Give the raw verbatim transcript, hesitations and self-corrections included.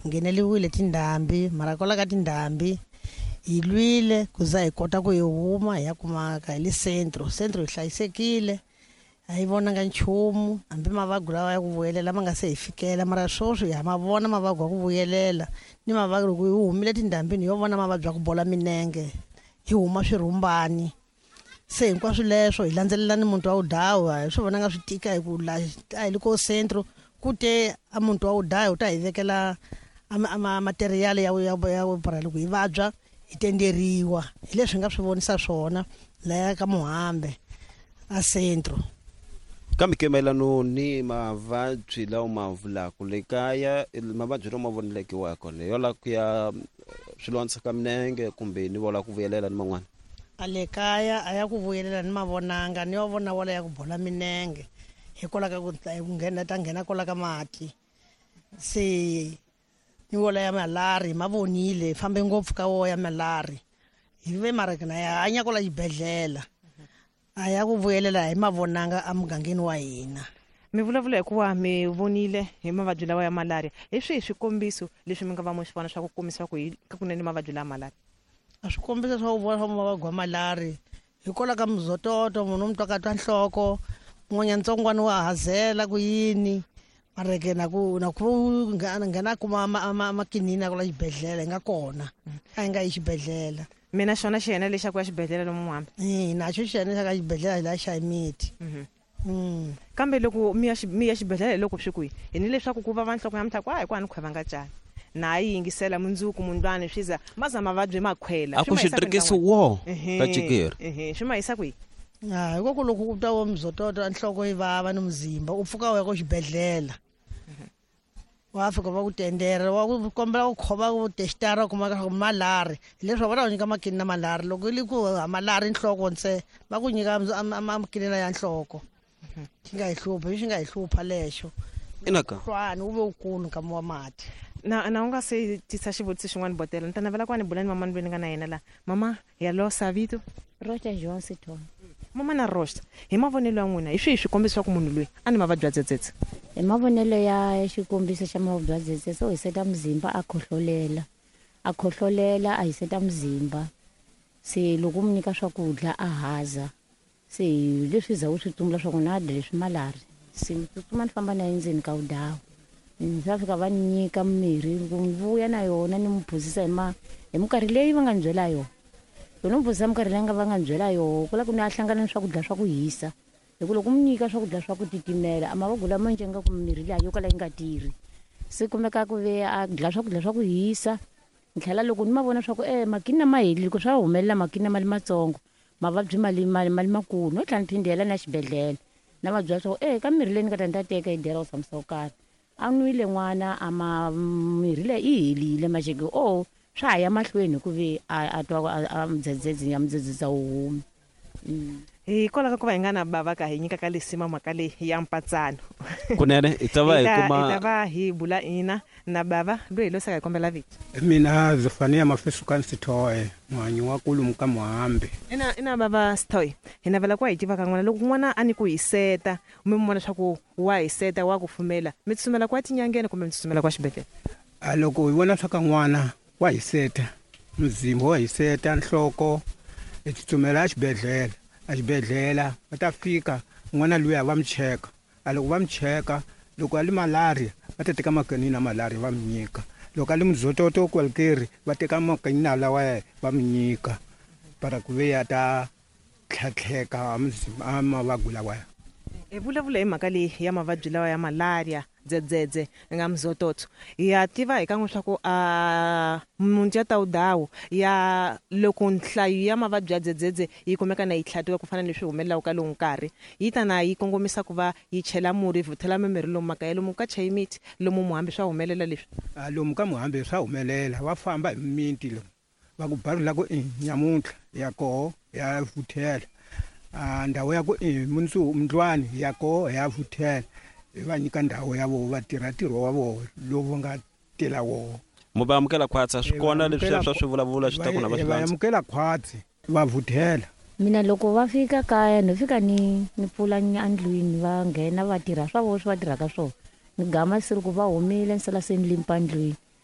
Ngheneliwile tindhambi, mara kwala ka tindhambi hi lwile ku za hi kota ku hi huma hi ya kumaka hi le centro. Centro hi hlayisekile, a hi vonanga nchumu, hambi mavabyi lawa ya ku vuyelela ma nga se hi fikela, mara sweswi ha ma vona mavabyi ya ku vuyelela ni mavabyi loko hi humile tindhambini hi yo vona mavabyi ya ku bola minenge, hi huma swirhumbani. Se hinkwaswo leswo hi landzelela ni muti wa Wudawu, a hi swi vonanga swi tika hi ku la a hi le ko centro ku te a muti wa Wudawu wu ta hi vekela a ma material ya ya ya para loko hi vabya hi tenderiwa. Hi leswi hi nga swi vonisa swona laya ka Muhambe a centro. Kambe ke mayelano ni mavabyi lawa ma vulaka le kaya, mavabyi lawa ma voneleke wa kona yo la ku ya swilondza ka minenge kumbe ni vola ku vuyelela ni man'wana. A le kaya a ya ku vuyelela ni mavonanga, ni yo vona wala ya ku bola minenge hikwalaho ka ku ku nghena ta nghena kwala ka mati. Se ni wola ya malari ma vonile, fambe ngopfu ka wo ya malari hi ve mara na ya hanya kwala xibedhlele, a ya ku vuyelela hi mavonanga emugangeni wa hina. Mi vulavula hikuva mi vonile hi mavabyi lawa ya malaria, hi swihi swikombiso leswi mi nga va mi swi vona swa ku kombisa ku hi kunene mavabyi lawa malaria? A swikombiso swa ku vona swa mavabyi ya malari hikwalaho ka muzototo, munhu u mi twaka twa nhloko, mun'wanyana ntsongwana wa hazela ku yini, mara ke na ku na ku nghena kuma makinini ya kwala xibedhlele hi nga kona, a hi nga yi xibedhlele. Mina xona xiyena lexi xa ku ya xibedhlele lomu Muhambe? E naxo xiyena xa ka xibedhlele la xa miti. Kambe loko mi ya mi ya xibedhlele loko swi kwihi hi ni leswaku ku vava nhloko ya muthaku a hi kwani khweva nga cani na yi yingisela mundzuku mundlwani swi za ma za mavabyi ma khwela a ku xitirikisi wo ka chikeri ehe swi ma yisa kwihi? Ha hiko ku loko u ta wa mzototo nhloko yi vava ni muzimba u pfuka u ya ko xibedhlele, wa fika va ku tendera, wa ku kombela ku khoma ku testara kuma ka malari, hileswi va ta ku nyika makini na malari. Loko i ku ha malari nhloko ntse va ku nyika makinina ya nhloko, xi nga hi hlupha, xi nga hi hlupha lexo. Inaka hlwani wu ve wukulu nkama wa mati. Na na u nga se tisa xivutiso xin'wana botela, ni ta navela ku va ni bula ni mama loyi ni nga na yena la. Mama ya losa vito Rocha João Sithole. Mama na Rocha, hi mavonelo ya n'wina hi swihi swikombiso swa ku munhu loyi a ni mavabyi ya dzedzedze? Hi mavonelo ya xikombiso xa mavabyi ya dzedzedze, u hiseta muzimba a khohlolela, a khohlolela a hiseta muzimba. Se loko u mu nyika swakudya a haza, se leswi za u swi tsumbula swa ku na dya leswi malari. Se ni tsutsuma ni famba na yena endzeni ka Wudawu, ni va fika va ni nyika mirhi, ku ni vuya na yona ni mu phuzisa hi ma hi minkarhi leyi va nga ni byela yona. Loko ni mu phuzisa minkarhi leyi va nga ni byela yona, ku la ku ni a hlangana ni swakudya swa ku hisa. Hi ku loko mu nyika swakudya swa ku titimela, a mavabyi lama njhe nga ku mirhi liya yo kala yi nga tirhi. Se kumeka ku ve a dya swakudya swa ku hisa, ni tlhela loko ni ma vona swa ku e makini ma helile, ku swa humelela makini ma le matsongo, mavabyi ma le ma le ma le makulu, no tlhela ni phindela na xibedhlele. Na va byela swa ku e ka mirhi leyi ni nga ta ni ta teka yi dela ku tshamisa ku karhi. A nwile n'wana a ma mirhi leyi yi helile maxeke o swa ha ya mahlweni hi ku ve a a twa a mudzedzedze ya mudzedzedze wu humi. Hikwalaho ka ku va hi nga na bava ka hi nyikaka lisima mhaka leyi ya mpatsano. Kunene hi ta va hi kuma hi ta va hi bula ina na bava loyi hi losaka hi kombela vito. Mina Zofania Mafesuka Sithoe, muhanyi wa kulumu ka Muhambe. Ina ina bava Sithoe, hi navela ku hi tiva ka n'wana loko n'wana a ni ku hiseta, mi vona swa ku wa hiseta wa kufumela, mi tsutsumela kwa tinyangeni kumbe mi tsutsumela kwa xibedhlele? A loko hi vona swa ka n'wana wa hiseta, muzimba wa hiseta, nhloko, hi tsutsumela exibedhlele. Exibedhlele va ta fika n'wana luya va mu cheka. A loko va mu cheka, loko a li malaria va ta teka makinina malaria va mu nyika. Loko a li muzototo kwalikeri va teka makinina lawa va mu nyika para ku ve ya ta tlhatlheka a mavabyi lawaya. Hi vulavula hi mhaka leyi ya mavabyi lawa ya malaria, dzedzedze nga mzototo. Ya tiva hi kan'we swa ku a muti ya Tawudawu ya loko nhlayo ya mavabyi ya dzedzedze yi kumeka na yi tlhatiwa ku fana ni leswi humelelaka ka lowu nkarhi, yi ta na yi kongomisa ku va yi chela murhi, yi vhuthela mimirhi lomu makaya, lomu ka chayi miti, lomu Muhambe swa humelela leswi. A lomu ka Muhambe swa humelela, va famba hi mimiti lomu va ku barula ku i nyamuntlha ya koho ya vuthela, a ndhawu ya ku i mundzuku mundlwani ya koho ya vuthela, hi va nyika ndhawu ya voho va tirha ntirho wa voho lowu va nga tela woho. Mu va amukela khwatsi, swi kona leswi swa swi vulavula swi ta ku na va swi landza. Amukela khwatsi va vuthela. Mina loko va fika kaya no fika ni ni pfula endlwini va nghena va tirha swa voho swi va tirhaka swona. Ni gama se loko va humile ni sala se ni limpa ndlwini.